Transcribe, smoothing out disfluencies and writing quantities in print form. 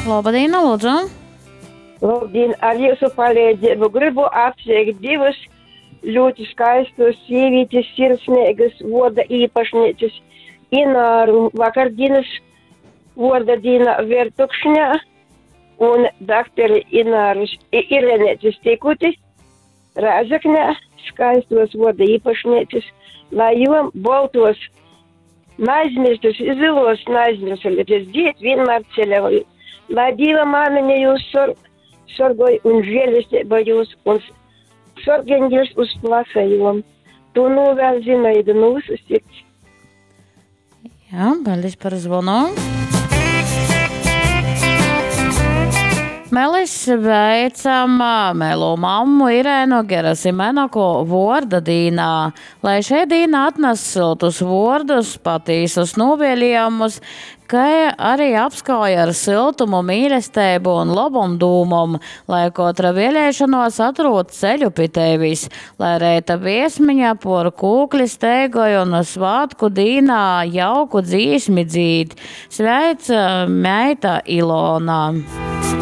Labadīna, lūdzu! Labdien, ar jūsu palīdzību gribu apsveikt divas ļoti skaistas sievietes, sirsnīgas voda īpašnieces Ināru vakardienas voda dienā Vertukšņā un dakteri Ināras Irenētes Tikuti Rēzeknē skaistos voda īpašnieces, lai jom boltos neaizmirstas, zilos neaizmirsuļas dzied vienmēr ceļoju. Lai Dieva māmiņa jūs sor, sorgoj un žēlestība jūs un sorgeņģis uz plasajom. To novēl Zinaida no visas sirds. Jā, paldies par zvanu. Melis veicam melo mammu Irēnu Gerasimenoko vorda dīnā. Lai šei dīna atnes siltus vordus, patīsus novēlējumus, kai arī apskauj ar siltumu, mīlestību un lobom dūmom, lai kotra vēlēšanos atrod ceļu pi tevis, lai reita viesmiņa por kūkli steigoj un svātku dīnā jauku dzīsmi dzīd. Sveic meita Ilona!